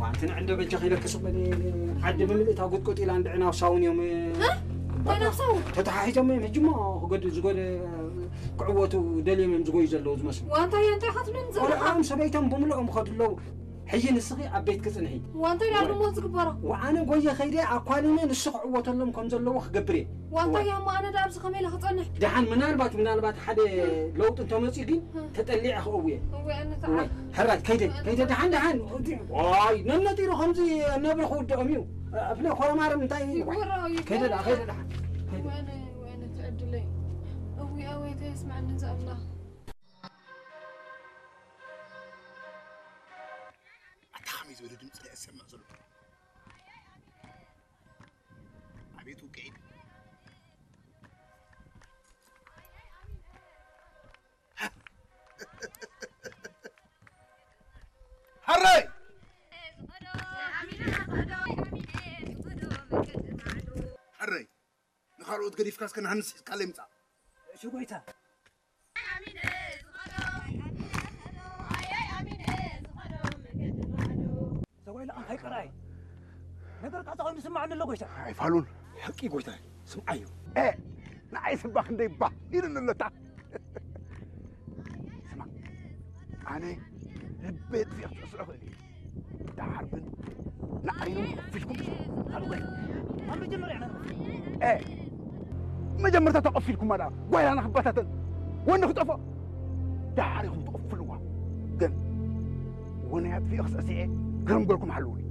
ዋንቲ ንዕንዶ በጃ ከይለክስ በል። ዓዲ ብምልእታ ጉጥቁጥ ኢላ እንድዕና ሳውን እዮም። እ? እንታይ ናብ ሳውን? ተተሓሒዞም እዮም። ሕጂ እሞ ክገድ-፣ ዝጎደ-፣ ክዕወቱ ደልዮም እዮም ዝጎዩ ዘለዉ ዝመስሉ። ዋንታ እያ እንታይ ኢኻ ትብለኒ ዘለኻ? ቆልዓኦም ሰበይቶም ብምልኦም ይኸዱ ኣለዉ። ሕጂ ንስኺ ኣብ ቤት ክጽንሒ። ዋንታ እያ ወይ። ድሞ ዝግበሮ። ወኣነ ጎየ ከይደ ኣኳሊነ ንሱ ክዕወተሎም ከም ዘለዎ ክገብር እየ። ዋንታ ወይ። እያ እሞ ኣነ ደኣ ኣብዚ ከመይ ኢለ ክጸንሕ? ደሓን ምናልባት፣ ምናልባት ሓደ ለውጢ እንተመጺኡ ግን እ። ተጠሊዐ ክእውየ። እወ፣ ኣነ ተዓ-፣ ወይ፣ ሕራይ፣ ከይደ፣ ኣነ ከይደ፣ ተዓ-፣ ደሓን፣ ደሓን። ዋይ፣ ነነጢሩ ከምዚ ነብሪ ክውድኦም እዩ። ኣፍለ ኮረማርም እንታይ እዩ? ይጎረው፣ ከይደ ደኣ፣ ይጎረው። ከይደ ደሓን። ከይደ። ወይነ፣ ወይነ ትዕድለይ። እዊ፣ ኣወይ፣ ተስማዕኒ ዘኣላ። ኣታ ከመይ ዝበለ ድምፂ ደኣ ዝሰምዕ ዘሎ? ኣቤት ውቅዒት። ሃረይ! ሃረይ! ንኻልኦት ገዲፍካ እስከ ንሃንስ ሒዝካለይ ምጻእ። እሺ ጎይታ። ሰብኣይ ለኣንካይ ቀርኣይ። ነገርካ እንታይ ኮይኑ ዝስማዓኒ ኣሎ ጎይታ? ኣይፋሉን። ሓቂ ጎይታ፣ ስምዓዮ። ኤ፣ ንዓይ ስባ ክንደይ ባህ ኢሉኒ ኣለታ። ስማ፣ ኣነ ልበይ ጥፊኤ ክትስዕስዖ እኽእል እየ። ደሓር ግን ንዓይኑ ከፊልኩም ስዑ። ኣብ መጀመርያ ኢና ንኸፍል። ኤ፣ መጀመርታ ተቐፊልኩማ ደኣ ጓይላ ንኽበታተን ወኒ ክጠፍኦ። ደሓር ኢኹም ትቕፍልዋ። ግን ወኒ ኣጥፊኤ ክስዕስዐ ግርም ገልኩም ሓልዉኒ።